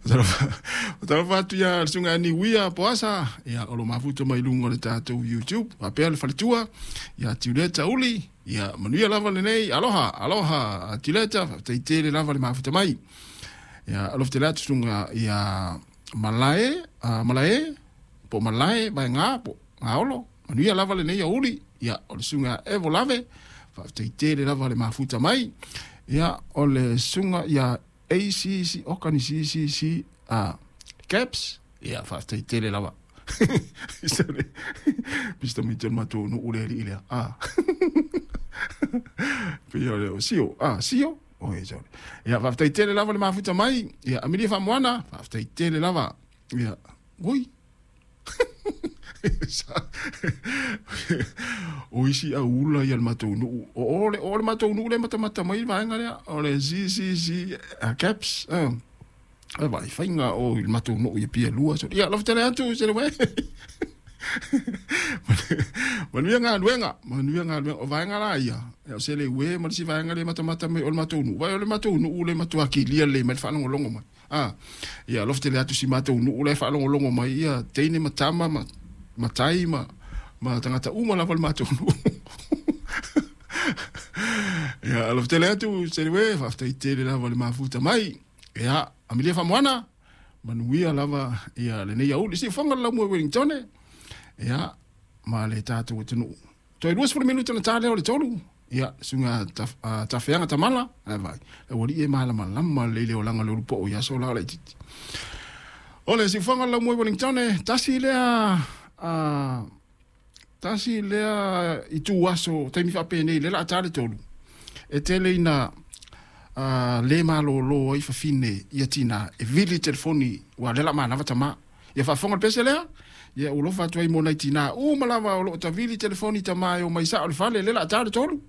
Faatalofa atu ia le susuga ia Niuia Poasa, ia o lo o mafuta mai luga o le tatou YouTube, faapea le faletua ia Tiuleta Uli, ia manuia lava lenei, aloha, aloha Tiuleta, faafetai tele lava le mafuta mai. Ia alofa tele atu susuga ia Malae, Malae, po o Malae Vaega po o Gaolo, manuia lava lenei aoauli, ia o le susuga ia Evo Lave, faafetai tele lava le mafuta mai. Ia o le susuga ia ACC, oka ni CCC, Caps, ia faafetai tele lava. Pista mai te matou nuu le alii lea. Ah. Pei o le sio, ah, sio. Oi, sorry. Ia faafetai tele lava le mafuta mai. Ia Amelia Faamoana, faafetai tele lava. Ia, oi. O isi aula ia le matou nuu. O le o le matou nuu le matamata mai le vaega lea. O le CCC Caps. E vai faiga o i le matou nuu ia pia lua. So, ia, alofa tele atu se le uē. Manuia galuega, manuia galuega. O vaega la ia, o se le uē ma le isi vaega le matamata mai o le matou nuu. Vai o le matou nuu le matua kilia lelei mai le faalogologo mai. A, ia alofa tele atu si matou nuu la e faalogologo mai, ia teine ma tama ma matai ma ma tagata uma lava o le matou nuu. Ia alofa tele atu se le uē, faafetai tele lava le mafuta mai. Ia, Amelia Faamoana, manuia lava ia lenei aoauli. Siufofoga le laumua i Wellingtone, ia, ma le tatou atunuu. Toe 20 minute ona ta lea o le 3, ia, susuga Tafeaga Tamala, ae vaai, le aualii e malamalama lelei le olaga o le ulu poo i aso la o laitiiti. O le siufofoga le laumua i Wellingtone, tasi lea, tasi lea itu aso taimi faapenei lea o le a ta le 3, e tele ina le malōlō ai fafine ia tinā e vili telefoni ua lea o le a manava tamā. Ia faafofoga le pese lea, ia ua alofa atu ai mo nai tinā uma lava o lo o tavili telefoni tamā e omai sao i le fale lea o le a ta le 3.